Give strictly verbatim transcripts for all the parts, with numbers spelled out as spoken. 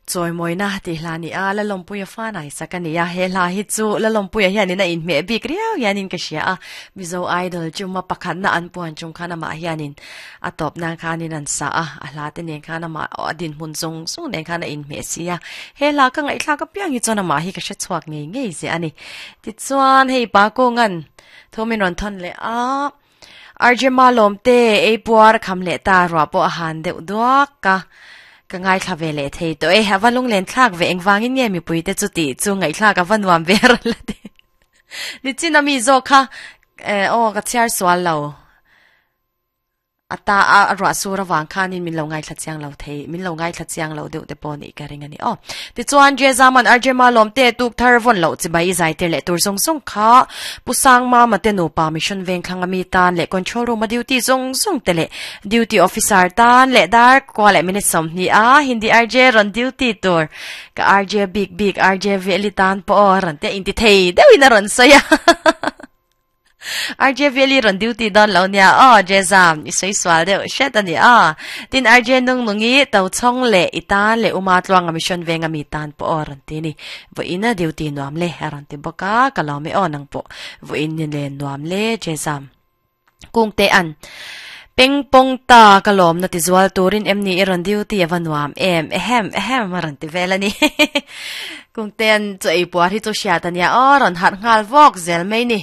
Choi moina ti hla ni a la lompuia fa nai sakania he hla hi chu la lompuia hian ina in me bik riau hianin ka hria a Mizo Idol chuma pakhat na an puan chung khana ma hianin a top nan khanin an sa a a hla te nen khana ma adin hun zong zong nen khana in me sia he hla ka ngai thla ka piang hi chona ma hi ka hre chuak ngei ngei ze ani ti chuan hei pa ko ngan thomin ron thon le a Arjema lomte ei puar kham le ta ro po han deuh duak ka ka ngai thla ve le thei to e hawa lung len thlak ve engwangin nge mi pui te chu ti chu ngai thlak a vanuam ve ra la te ni chin ami zo kha e o ka chiar swal lo ata a ra sura wang khanin min lo ngai thla chiang lo thei min lo ngai thla chiang lo deuh te pawh ni ka ring ani o ti chuan je zaman arjema lom te tuk thar von lo chi bai zai te le tur zong zong kha pusang ma ma te no pa mission veng thlang ami tan le control room a duty zong zong te le duty officer tan le dar kwa le minute som ni a hindi R J ron duty tur ka R J big big R J veli tan po ron te inti thei deuhin a ron soya R J Veli ron duty don lo nia o jezam i soi swal deuh shet ani a tin R J nung nungi to chong le itan le uma tluang a mission venga mi tan po ron ti ni vo ina duty nuam le ron ti boka kalome o nang po vo in ni le nuam le jezam kung te an peng pong ta kalom na ti zual turin em ni iron duty awanuam em ehem ehem ron ti velani kung ten choi puar hi chu sia tania o ron hat ngal vok zel mai ni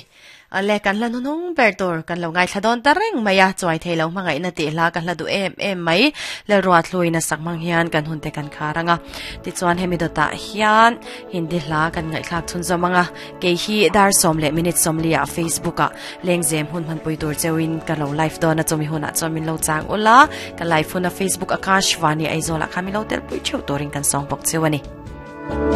ale kan la nunung ber tur kan lo ngai thladon ta reng maya chuai thei lo mangai na ti hla kan la du em em mai le ruat hlui na sak mang hian kan hun te kan kharanga ti chuan hemi dota hian hindi hla kan ngai thlak chun zomanga ke hi dar som le minute som lia Facebook a lengzem hun man pui tur chewin ka lo live don na chomi huna chomin lo chang ula ka live hun a Facebook Akashvani Aizawl a khami lo tel pui cheu turin kan song bok chewani.